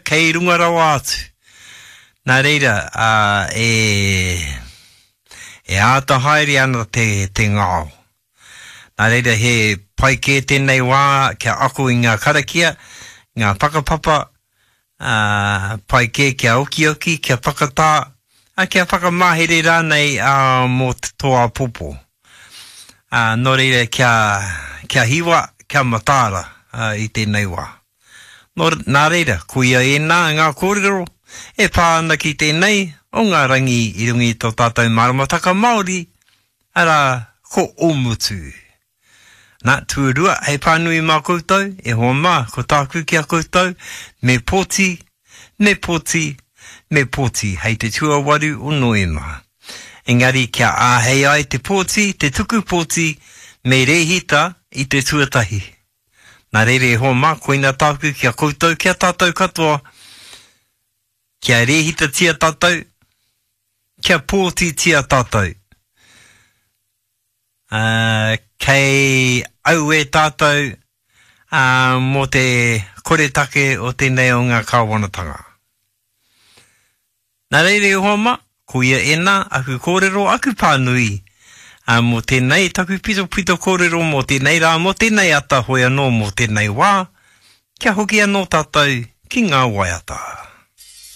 Kei runga rawa atu. Nā reira, e, e āta haere ana te, te ngao. Nā reira, he pai kē tēnei wā kia ako i ngā karakia, ngā whakapapa, ā, pai kē kia okioki, kia whakatā, ā, kia whakamahere rānei, ā, mō tō āpōpō. Ā, nō reira, kia, kia hiwa, kia mataara, ā, i tēnei wā. Nō, nā reira, koia ēnā ngā kōrero e pā ana ki tēnei o ngā rangi i runga i tō tātou maramataka Māori, arā, ko Ōmutu. Nā, tuarua, hei pānui mā koutou, e hoa mā, ko tāku ki a koutou, me pōti, me pōti, me pōti hei te tuawaru o Noema. Engari kia āhei ai te pōti, te tuku pōti, me rēhita i te tuatahi. Nā reira e hoa mā, koina tāku ki a koutou, ki a tātou katoa, kia rēhitatia tātou, kia pōtitia tātou. Uh, kei auē tātou uh, mō te koretake o tēnei o ngā kāwanatanga. Nā reira e hoa mā, koia ēnā aku kōrero, aku pānui, ā, mō tēnei taku pitopito kōrero mō tēnei rā, mō tēnei ata, hoi anō mō tēnei wā, kia hoki anō tātou ki ngā waiata.